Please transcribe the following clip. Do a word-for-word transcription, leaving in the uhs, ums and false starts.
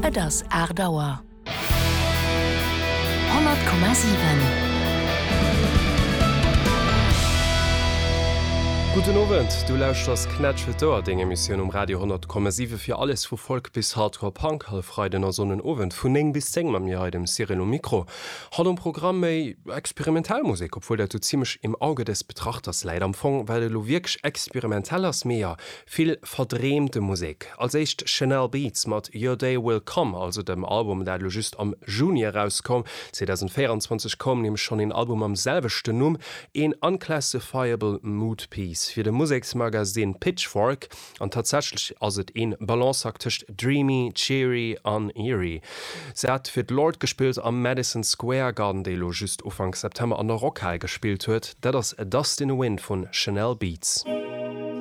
Et ass aacht Auer. Honnert Komma siwen. Gudden Owend, du lauschters Knätsch fir d'Ouer, deng Emissioun um Radio honnert Komma siwe fir alles vu Folk bis Hardcore Punk, all Freiden a Sonnen Owend vun néng bis zéng mam mir hei dem Cyril um Mikro. Haut um Programm méi experimentell Musek, obwuel dat do zimmlech im Auge des Betrachters läit am Fong, wat elo wierklech experimentell ass, mee jo, vill verdreemte Musek. Als éischt Chanel Beats mat Your Day Will Come, also dem Album dat elo just am Juni erauskoum. zweedausendvéieranzwanzeg koum nämlech schonn een Album mam selwechten Numm, een Unclassifiable Mood Piece fir de Museksmagasinn Pitchfork. An tatsächlech ass et een Balanceakt tëscht dreamy, cheery an eerie. Se hat fir d'Lorde gespillt am Madison Square Garden, déi elo just Ufank September an der Rockhal gespillt huet. Dat ass Dust in the Wind vun Chanel Beats.